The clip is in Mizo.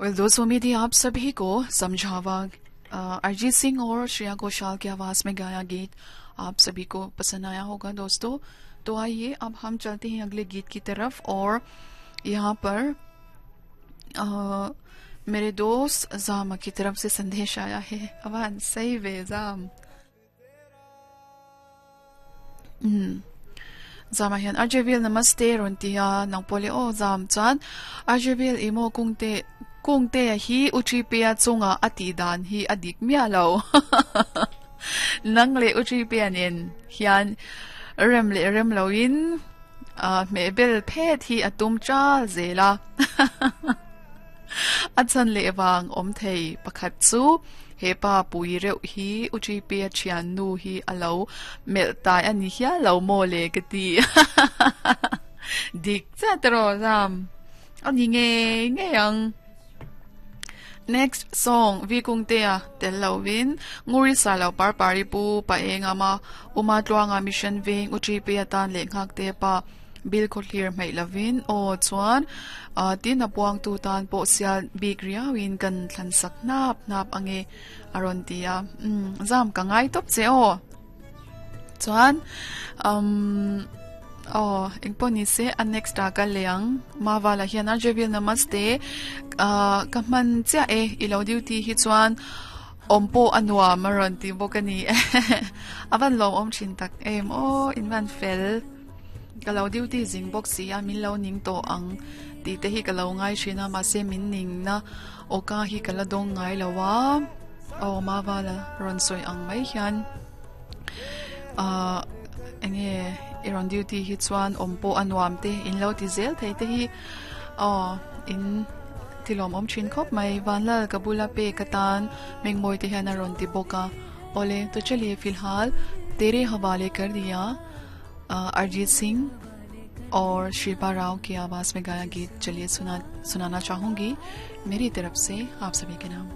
Well दोस्तों, उम्मीद है आप सभी को समझावा अरिजीत सिंह और श्रेया घोषाल की आवाज़ में गाया गीत आप सभी को पसंद आया होगा दोस्तों। तो आइए अब हम चलते हैं अगले गीत की तरफ और यहाँ पर मेरे दोस्त जामा की तरफ से संदेश आया है। अवान सही वे जाम। Zama hian Arjevil namaste rawn ti a, nang pawh leh aw zam chuan Arjevil i maw kungte kungte hi u Tripea chunga a tih dan hi a dik miah lo. Nang leh u Tripea nen hian rem leh rem loin hmeh bel phet hi a tum chal zel a. A chhan leh vang awm thei pakhat chu he pa pui reuh hi U Ṭipi-a thiannu hi a lo melh tai a ni hial lo maw le ka ti. Dik chiah tawh Ram. A ni ngei ngei ang. Next song Vi Kungtea tel lovin Nguri Salo Parpari Pu Paengama Uma Tluanga Mission Veng U Ṭipi-a tan leh Nghakte pa Bill khaw hlir hmeih lovin aw chuan tin a puangtu tan pawh sial bik riauin kan thlan sak hnap hnap ange a rawn ti a umm zam ka ngai tawp che aw chuan umm aw engpawh ni se a next ah ka lei ang Mavala hian a Jevil namaste ah ka hman chiah e i lo duty hi chuan awm pawh a nuam a rawn ti bawk a ni a van lawmawm thin tak em aw in van fel. Ka lo duty zing bawk si a, min lo ning tawh ang tih te hi ka lo ngai thin a, mahse min ning na awka hi ka la dawng ngai lo a, aw Mavala rawn sawi ang mai hian ahh enge i rawn duty hi chuan awm pawh a nuam te in lo ti zel thei te hi aw in ti lawmawm thin khawp mai. Vanlal ka bula pek atan Mengmawi te hian a rawn ti bawk a, awle to chaliye filhal tere hawale kar diya. Arijit Singh और शिल्पा राव की आवाज़ में गाया गीत चलिए सुना सुनाना चाहूँगी मेरी तरफ से आप सभी के नाम।